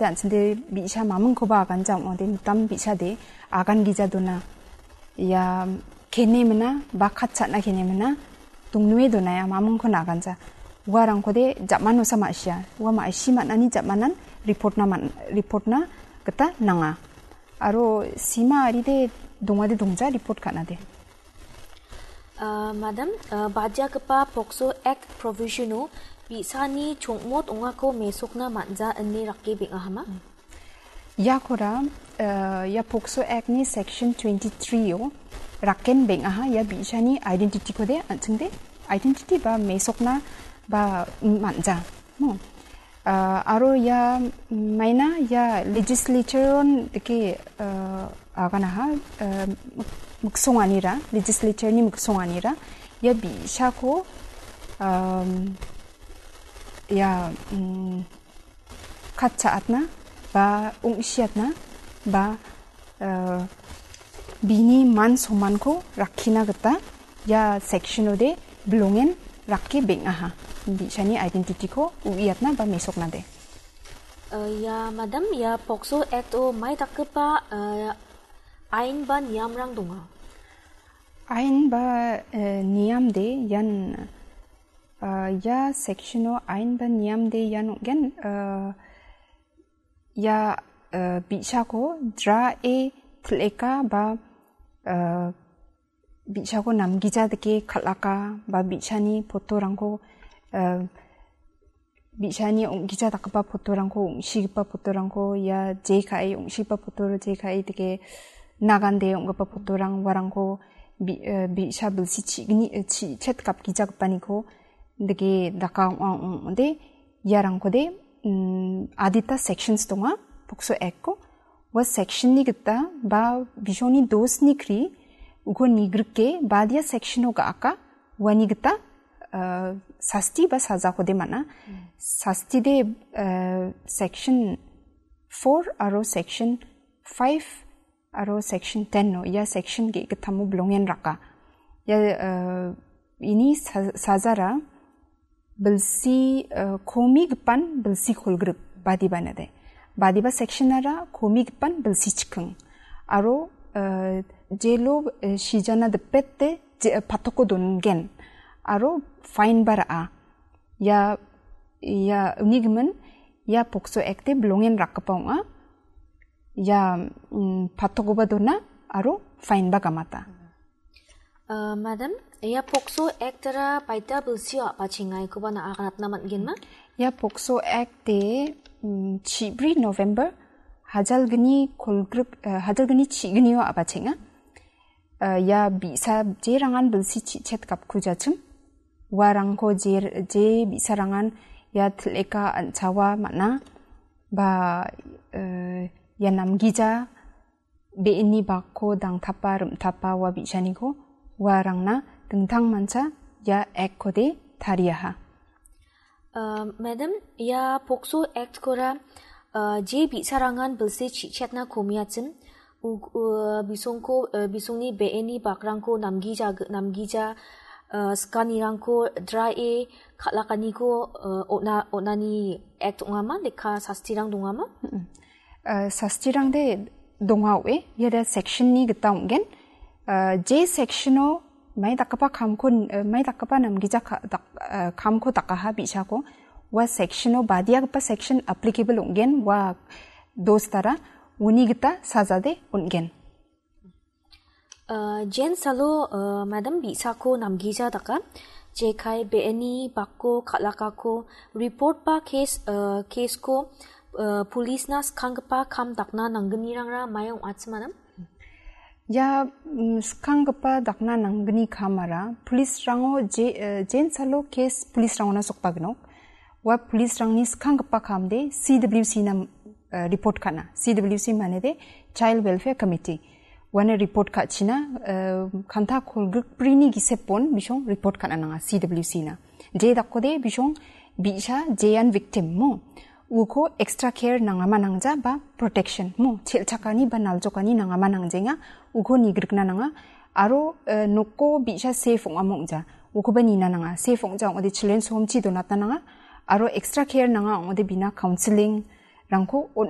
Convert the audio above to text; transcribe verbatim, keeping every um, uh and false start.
De an·chingde bi·sa mamingkoba aganja ong·ode mitam bi·sade agan gija dona. Ia kene mina, ba kat cha·na kene mina, dongnue dona ia mamingkon aganja. Uarangkode jamanosa ma·sia. Ua ma·si man·ani jamanan report-na man-, report-na gita nanga. Aro sima aride dongade dongja report ka·nade. Ah, madam, ah, badiagipa POCSO Act provision-o bi·sani chongmot ongako mesokna man·ja ine rake beng·ahama? Iakora, ah, ia POCSO Act-ni section twenty-three-o raken beng·aha, ia bi·sani identity-kode an·chingde identity ba mesokna ba man·ja. Hmm. Ah, aro ia maina ia legislature-on dake, ah, aganaha, ah, mik-, miksonganira, legislature-ni miksonganira, ia bi·sako, um, ia, mm, katcha·atna ba ong·siatna ba eh, bini man somanko rakkina gita ia section-ode bilongen rake beng·aha. Bi·sani identity-ko uiatna ba mesoknade. Eh, ia, madam, ia POCSO Act-o mai dakgipa, eh, ain ba niamrang donga? Ain ba, eh, niamde ian, eh, ia section-o ain ba niamde ian ong·gen, eh, ia, eh, bi·sako drae til·eka ba, eh, bi·sako namgija dake kal·aka ba bi·sani photo-rangko, eh, bi·sani ong·gija dakgipa photo-rangko, ong·sigipa photo-rangko, ia je ka·e, ong·sigipa photo-ro je ka·e dake nagande ong·gipa photo-rang uarangko bi-, eh, bi·sa bilsi chi·gni, eh, chi-, chet gapgijagipaniko dake daka ong·a ong·ode iarangkode, mm, adita sections donga, POCSO Act-ko. Ua section-ni gita ba bisoni dosni kri uko nigrike badia section-o ga·aka, uani gita, eh, sasti ba sajakode man·a. Sastide, eh, section four aro section five aro section ten-o ia section ge·gittamo bilongen raka. Ia, eh, ini sa-, sajara bilsi, eh, komigipan bilsi kolgrip badiba nade. Badiba section-ara komigipan bilsi chiking. Aro, eh, jelo, eh, sijana dipete je-, eh, patoko dongen. Aro fine ba ra·a. Ia, ia unigimin ia POCSO Act-e bilongen rakgipa ong·a. Ia, mm, patokoba dona aro fine ba gamata. Uh, madam, ia POCSO Act-ara baita bilsio a·bachengaikoba na-, aganatna man·genma? Ia POCSO Act-e, mm, chibri November hajalgni kolgrip, eh, hajalgni chignio a·bachenga. Eh, ia bi·sa jerangan bilsi chi·chet gapkujachim. Uarangko je, je bi·sarangan ia til·eka an·chawa man·a. Ba, eh, ia namgija be·eni bakko dangtapa rim·tapa ua bi·saniko uarangna dingtangmancha ia Act-kode tariaha. Uh, madam, ia POCSO Act-kora, uh, je bi·sarangan bilsi chi·chetna komiachim, u-, uh, bisongko, uh, bisongni be·eni bakrangko namgija, namgija, uh, sikanirangko drae kal·akaniko, uh, on·a, on·ani Act ong·ama, lekka sastirang dongama? Mm-mm. Eh, sastirangde donga oe, iade section-ni gita ong·gen. Eh, je section-o mai dakgipa kamko, eh, mai dakgipa namgija ka-, dak-, eh, kamko dakaha bi·sako, ua section-o badiagipa section applicable ong·gen, ua dosdara uni gita sajade on·gen. Uh, jen salo, uh, madam bi·sako namgija daka, jekai be·eni bakko kal·akako report ba case, uh, case-ko, uh, police-na skanggipa kam dakna nanggnirangra mai ong·achim, madam? Ia, mm, skanggipa dakna nanggni kamara police-rango je, uh, jen salo case police-rangona sokbagnok. Ua police-rangni skanggipa kamde C W C-na, eh, report ka·na. C W C manede Child Welfare Committee. Uana report ka·china, eh, kanta kolgrikbrini gisepon bisong report ka·na nanga C W C-na. Je dakode bisong bi·sa jean victim mo. Uko extra care nangama nangja ba protection mo. Chel·chakani ba naljokani nangama nangjenga. Uko nigrikna nanga. Aro, eh, noko bi·sa safe ong·amo ong·ja. Ukoba nina nanga. Safe ong·ja ong·ode children's home-chi donatna nanga. Aro extra care nanga ong·ode bina counseling-rangko on-,